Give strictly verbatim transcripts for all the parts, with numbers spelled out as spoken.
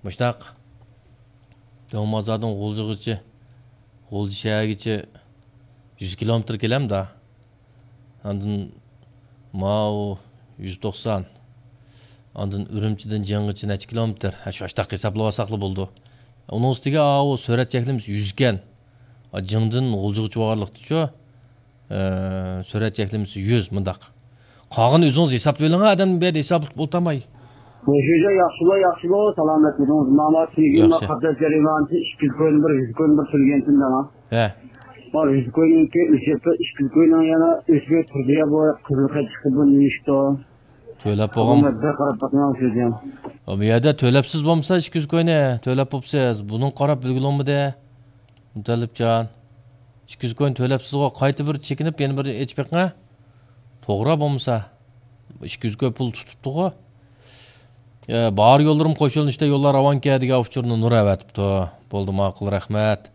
مۇشتاق. دۆڭمازادىن غۇلجىغىچە، غۇلجا شەھەرگىچە يۈز كىلومېتىر كېلەمدا. ئاندىن ماۋۇ يۈز توقسان. ئاندىن ئۈرۈمچىدىن جىڭغىچە نەچچە كىلومېتىر؟ ھە، شۇ ئاشتاق ھېسابلىۋالساقلا بولىدۇ. ئۇنىڭ ئۈستىگە ئاۋۇ سۈرئەت چەكلىمىسى يۈز ئىكەن. جىڭدىن غۇلجىغىچە بارغانلىقتىچۇ؟ ئە، سۈرئەت چەكلىمىسى يۈز، مۇنداق. قالغىنىنى ئۆزىڭىز ھېسابلىۋېلىڭ، ئادەم بۇ يەردە ھېسابلاپ ئولتۇرماي. مۇشۇجا ياخشىمۇ، ياخشىمۇ، سالامەتمىدىڭىز؟ ماما تۈگۈن ياخشى. قاتناش جەريانىدا ئىككى يۈز كوينى بىر يۈز كوينى بىر تۆلىگەنتىم دەڭا. ھە. ما يۈز كوينىڭكى ئۆچۈپ، ئىككى يۈز كوينىڭ يەنە ئۆچمەي تۇردى يا، بۇ قىزىل خەت چىقتى، بۇ نېمە ئىشتۇ؟ تۆلەپ بولغان. بۇ بىر قاراپ باقماڭ شۇجا. بۇ يەردە تۆلەپسىز بولمىسا ئىككى يۈز كوينى تۆلەپ بوپسىز. بۇنىڭ قاراپ بىلگىلى بولمىدى. مۇتەللىپجان. ئىككى يۈز كوينى تۆلەپسىزغۇ، قايتا بىر چېكىنىپ يەنە بىر ئېچىپ بېقىڭ. توغرا بولمىسا. ئىككى يۈز كوي پۇل تۇتۇپتىغۇ. ئە، بار يوللىرىم قوشۇلۇشتا يوللار راۋانكەن دېگەن ئۇچۇرنى نۇر ئەۋەتىپتۇ. بولدى، ماقۇل، رەھمەت.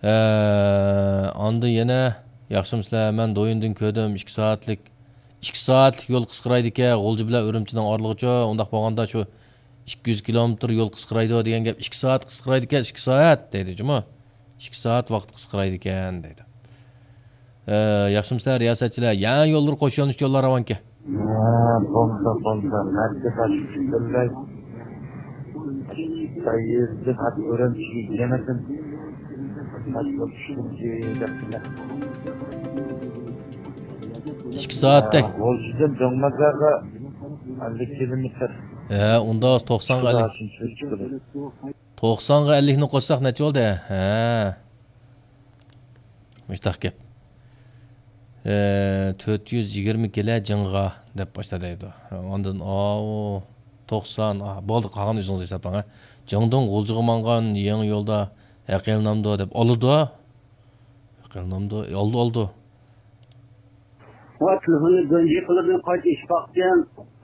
ئە، ئاندىن يەنە، ياخشىمۇسىلەر؟ مەن دويۇندىن كۆردۈم، ئىككى سائەتلىك، ئىككى سائەتلىك يول قىسقىرايدىكەن، غۇلجا بىلەن ئۈرۈمچىنىڭ ئارىلىقىچۇ، ئۇنداق بولغاندا شۇ ئىككى يۈز كىلومېتىر يول قىسقىرايدۇ دېگەن گەپ، ئىككى سائەت قىسقىرايدىكەن، ئىككى سائەت دەيدۇ جۇمۇ. ئىككى سائەت ۋاقىت قىسقىرايدىكەن دەيدۇ. ئە، ياخشىمۇسىلەر رىياسەتچىلەر؟ يەنە يوللىرى قوش يۆنىلىشتە يوللار راۋانكەن. ھە، بولدى، بولدى. مەركەز ئاشۇ پۈتۈنلەي سەييىزدىن ئات ئۆرەمچىگە يەنىدىن ئىككى سائەتتەك. غۇلجىدىن دۆڭمازاغا ئەللىك كىلومېتىر. ھە، ئۇنداق توقسانغا ئەللىك. توقسانغا ئەللىكنى قوشساق نەچچە بولدى؟ ھە. مۇشتاق گەپ. ئە، تۆت يۈز يىگىرمە كىلە جىڭغا دەپ باشلا دەيدۇ. ئاندىن، ئاۋۇ، توقسان، ئا، بولدى، قالغان ئۆزىڭىز ھېسابلاڭ، ھە. جىڭدىڭ غۇلجىغا ماڭغان يېڭى يولدا ھەق ئېلىنامدۇ دەپ ئالىدۇ. ھەق ئېلىنامدۇ؟ ئالدى، ئالدى. ۋە تېلېفوننى گۆنجى قىلىدىن قايتا ئېچىپ باقتىم.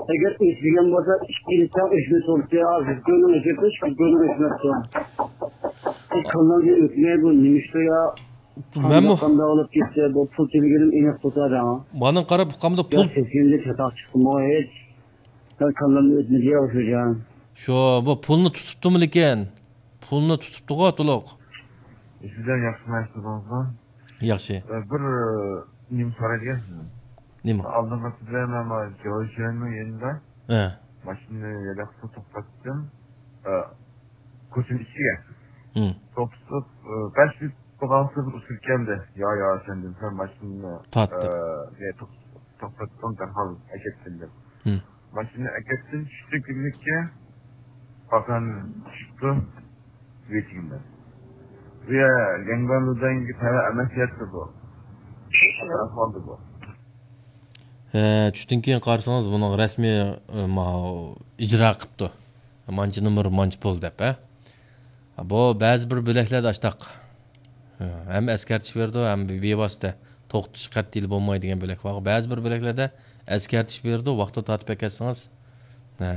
ئەگەر ئۆچمىگەن بولسا، ئىككىنچى ئۆچمەي تۇرۇپتۇ. ھازىر كۆنۈڭ ئۆچۈپتۇ، ئىككى كۆنۈڭ ئۆچمەپتۇ. ئىككى كۆنۈڭ ئۆچمەي، بۇ نېمە ئىشتۇ يا؟ مەنمۇ قانداق بولۇپ كەتتى؟ بۇ پۇل تۆلىگىنىم ئېنىق تۇرسا دەڭ. مانا قاراپ ئۇقامدا يا پۇل. سەككىزىنچى چاتاق چىقتىمۇ ھېچ؟ يا كاللامنى ئۆتمىدى يا شۇ جان. شۇ، بۇ پۇلنى تۇتۇپتۇمۇ لېكىن؟ پۇلنى تۇتۇپتىغۇ تولۇق. سىزلەر ياخشىمۇ، ياخشىمۇ؟ ياخشى. ئە، بىر، ئە، نېمە سورايدىكەن سىزدىن. نېمە؟ ئالدىنقى سىزلەر مانا جاۋشيەننىڭ يېنىدا ھە. ماشىنىنى ھېلىقىسىنى توختاتتىم. ئە، كوچىنىڭ ئىچىگە. ھىم. توختىتىپ، ئە، بەش مىنۇت بولغانسېرى بىر ئۇسسۇل كەلدى. يا، يا، ئەپەندىم، سەن ماشىنىنى، تارتتىم. ئە، نە، توختىتىپ توختاتتىم، دەرھال ئەكەتتىم دەپ. ھىم. ماشىنىنى ئەكەتتىم، چۈشتۈم كىلىنىككە. پاكان چۈشۈپتۇ، ۋېيتىڭدا. بۇ يەر لياڭگانلۇدەنگە تەۋە ئەمەس يەتتى بۇ. ئەھۋالدا بۇ. ھە، چۈشتىن كېيىن قارىسىڭىز، بۇنىڭ رەسمىي، ئە، ماۋۇ ئىجرا قىپتۇ. مانچە نومۇر، مانچە پۇل دەپ، ھە. بۇ بەزى بىر بۆلەكلەردە ئاشتاق. ھەم ئەسكەرتىش بېرىدۇ، ھەم بىۋاسىتە توختىتىش قەتئىيلا بولمايدۇ دېگەن بۆلەك بار. بەزى بىر بۆلەكلەردە ئەسكەرتىش بېرىدۇ، ۋاقتىدا تارتىپ ئەكەتسىڭىز، ھە،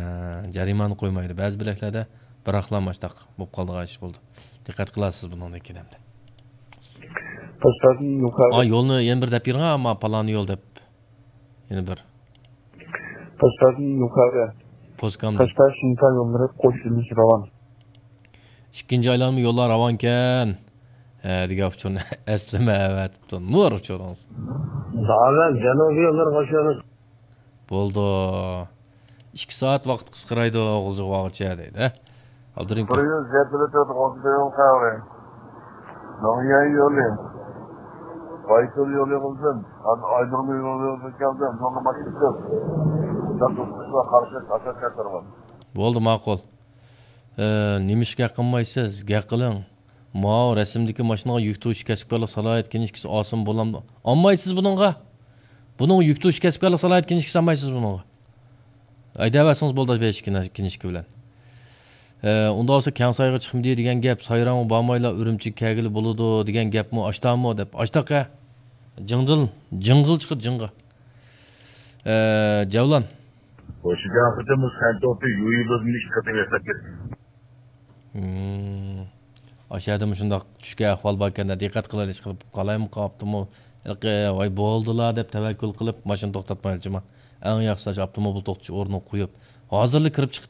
جەرىمانە قويمايدۇ. بەزى بۆلەكلەردە بىراقلا ماشتاق بولۇپ قالىدىغان ئىش بولىدۇ. دىققەت قىلارسىز بۇنىڭدىن كېيىن ئەمدى. پوستادىن يۇقىرى. ئا، يولنى يەنە بىر دەپ بېرىڭ، ئەمما پالان يول دەپ. يەنە بىر. پوستادىن يۇقىرى. پوسكامدىن. پوستا شىنكا يوللىرى قوشۇلۇش راۋان. ئىككىنچى ئايلانما يوللار راۋانكەن. ھە، دېگەن ئۇچۇرنى ئەسلىمە ئەۋەتىپتۇ. نۇر ئۇچۇرىڭىز. داۋەت جەنۇبىي يوللار قوشۇلۇش. بولدى. ئىككى سائەت ۋاقىت قىسقىرايدۇ، غۇلجىغا بارغۇچە دەيدۇ، ھە؟ ئابدۇرېھىم. بىر يۈز يەتتە لىتىر ئوكسىگېن خەۋىرى. ناڭيەن يولى. بايتۇل يولى قىلدىم. ھازىر ئايدۇرما يولى قىلدىم. سوڭغا ماشىنا. شۇنداق توسۇشقا قارشى ئاساس كەلتۈرگەن. بولدى، ماقۇل. ئە، نېمىشقا گەپ قىلمايسىز؟ گەپ قىلىڭ. ماۋۇ رەسىمدىكى ماشىنىغا يۈك توشۇش كەسىپكارلىق سالاھىيەت كىنىشكىسى ئالسىمۇ بولامدۇ؟ ئالمايسىز بۇنىڭغا. بۇنىڭغا يۈك توشۇش كەسىپكارلىق سالاھىيەت كىنىشكىسى ئالمايسىز بۇنىڭغا. ھەيدەۋەرسىڭىز بولدى بەش كىنىشكا بىلەن. ئە، ئۇنداق بولسا كەڭ سايغا چىقمىدى دېگەن گەپ، سايرامغا بارمايلا ئۈرۈمچىگە كەلگىلى بولىدۇ دېگەن گەپمۇ ئاشتامۇ دەپ. ئاشتاق ھە. جىڭدىل، جىڭغىل چىقىدۇ جىڭغا. ئە، جەۋلان. ھوشىجان قېتىم بۇ سەنتوپى يۇيۇبىزنى ئىشلىتىپ ياساپ كەتتى. ھىم. ئاشۇ يەردە مۇشۇنداق چۈشكەن ئەھۋال باركەن-دە، دىققەت قىلايلى، ئىشقىلىپ قالايمۇ قاپتىمۇ. ھېلىقى، ۋاي، بولدىلا دەپ تەۋەككۈل قىلىپ، ماشىنا توختاتمايلىچىما. ئەڭ ياخشىسى ئاشۇ ئاپتوموبىل توختىتىش ئورنىغا قويۇپ، ھازىرلا كىرىپ چىقىپ